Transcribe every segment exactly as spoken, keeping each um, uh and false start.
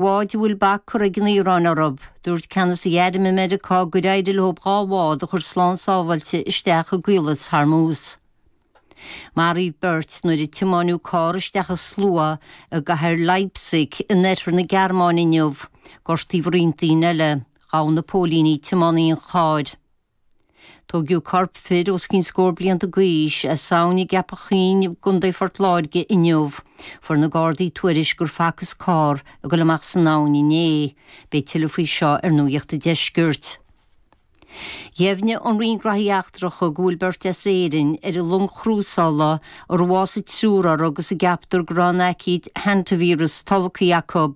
bháid a bhfuil bac curtha ag an Iaráin orthu. Dúirt ceannasaí airm i Meiriceá gur éirigh leo dhá bhád a chur slán sábháilte isteach i gCaolas Hormuz. Maraíodh beirt nuair a tiomáineadh carr isteach i slua i gcathair Leipzig in oirthear na Gearmáine inniu. Gortaíodh roinnt daoine eile. Ghabh na póilíní tiománaí an chairr. Tógadh corp fir os cionn scór blianta d'aois as abhainn i gCeapach Chuinn i gContae Phort Láirge inniu. Fuair na Gardaí tuairisc gur facthas carr ag dul amach san abhainn inné. Beidh tuilleadh faoi seo ar Nuacht an Deiscirt. Dheimhnigh an Roinn Gnóthaí Eachtracha go bhfuil beirt as Éirinn ar an long chrúsála a raibh bhásaigh triúr orthu agus a gceaptar go raibh an aicíd hantavirus tolgtha acu.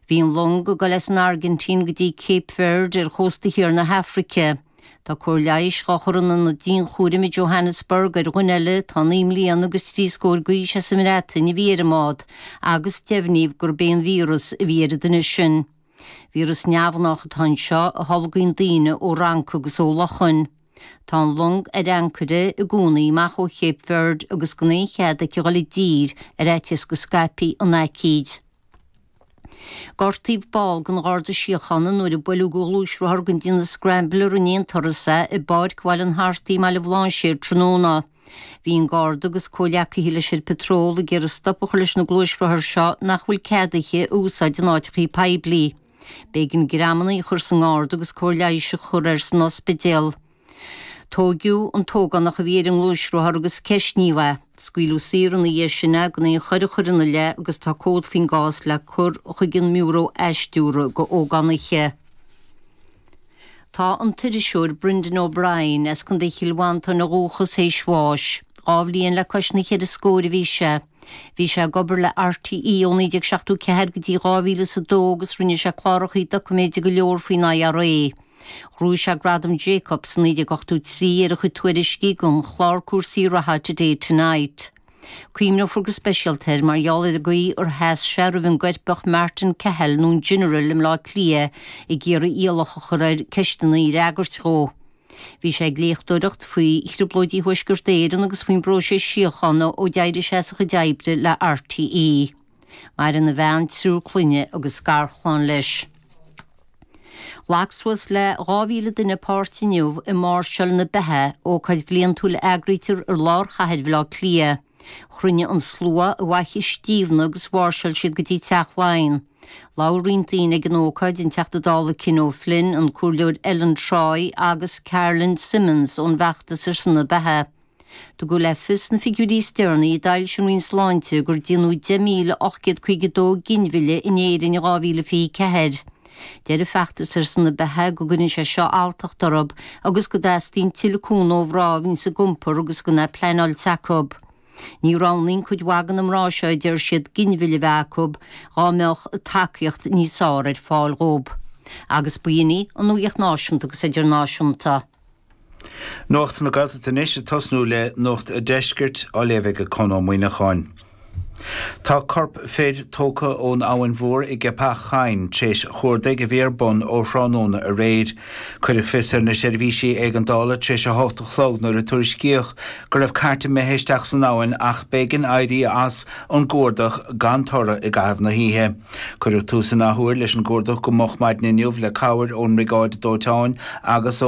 Bhí an long ag dul as an Airgintín go dtí Cape Verde ar chósta thiar na hAfraice. Tá cóir leighis á chur in ionad dianchúraim i Johannesburg ar dhuine eile atá naoi mbliana agus trí scór d'aois as an mBreatain a bhí ar an mbád agus deimhníodh gurb é an víreas a bhí ar an duine sin. Víreas neamhghnách atá anseo a tholgaíonn daoine ó fhrancaigh agus ó luchain. Tá an long ar ancaire i gcónaí amach ó Cape Verde agus gan aon chead aici dhul i dtír ar fhaitíos go scaipfí an aicíd. Gortaíodh ball den Gharda Síochána nuair a buaileadh de ghluaisrothar den déanamh Scrambler in aon turas é i bPáirc Bhaile an Hartaigh i mBaile Bhlainséir tráthnóna. Bhí an Garda agus comhghleacaithe leis ar patról ag iarraidh stop a chur leis na gluaisrothair seo nach bhfuil ceadaithe a úsáid in áiteachaí poiblí. B'éigean greamanna a chur sa nGarda agus cóir leighis a chur air san ospidéal. Tóigeadh an t-ógánach a bhí ar an ngluaisrothar agus ceistníodh é. Scaoileadh saor ina dhiaidh sin é gan aon choir a chur ina leith agus tá comhad faoin gcás le cur chuig an mBiúró Athstiúrtha do Ógánaithe. Tá an t-iriseoir Brendan O'Brien as Contae Chill Mhantáin ó dhúchas théis bháis. Dhá bhliain le cois na ceithre scór a bhí sé. Bhí sé ag obair le RTÉ ó naoi déag seachtó ceathair go dtí dhá mhíle is a dó agus rinne sé cláracha doiciméide go leor faoin IRA. Ghnóthaigh sé Gradam Jacobs naoi déag ochtó trí ar a chuid tuairiscí don chlár cúrsaí reatha Today Tonight. Cuimhneofar go speisialta air mar gheall ar an gcaoi ar sheas sé roimh an gcoirpeach Martin Cahill nó an General i mBleá Cliath ag iarraidh iallach a chur air ceisteanna a fhreagairt dhó. Bhí sé ag léachtóireacht faoi thrioblóidí Thuaisceart Éireann agus faoin bpróiseas síochána ó d'éirigh sé as a chuid oibre le RTÉ. Maireann a bhean, triúr clainne agus garchlann leis. Ghlac suas le dhá mhíle duine páirt inniu i Máirseáil na Beatha, ócáid bhliantúil a eagraítear i lár chathair Bhaile Átha Cliath. Chruinnigh an slua i bhFaiche Stiabhna agus mháirseáil siad go dtí Teach Laighean. Labhair roinnt daoine ag an ócáid, an Teachta Dála Cian O'Flynn, an Comhairleoir Ellen Troy agus Carolyn Simmons ón bhfeachtas ar son na beatha. Tugadh le fios sna figiúirí is deireanaí a d'fhoilsigh an Roinn Sláinte gur déanadh deich míle ocht gcéad caoga dó ginmhilleadh in Éirinn in dhá mhíle fiche ceathair. Deir an feachtas ar son na beatha go gcuireann sé seo alltacht orthu agus go dteastaíonn tuilleadh cúnamh ó mhná a bhíonns ag iompar agus gan é pleanáilte acu. Ní roghnaíonn cuid mhaith de na mná seo a deir siad ginmhilleadh a bheith acu dá mbeadh tacaíocht níos fearr ar fáil dhóibh. Agus b'in í an nuacht náisiúnta agus idirnáisiúnta. Nuacht na Gaeltachta anois ag tosnú le Nuacht an Deiscirt á léamh ag Conn Ó Muíneacháin. Tá corp fir tógtha ón Abhainn Mhór i gCeapach Choinn tar éis chuardaigh a bhí ar bun ó thráthnóna aréir. Cuireadh fios ar na seirbhísí éigeandála tar éis a hocht a chlog nuair a tuairiscíodh go raibh cairt imithe isteach san abhainn ach b'éigean éirí as an gcuardach gan toradh i gcaitheamh na hoíche. Cuireadh tús an athuair leis an gcuardach go moch maidin inniu le cabhair ón mBriogáid Dóiteáin agus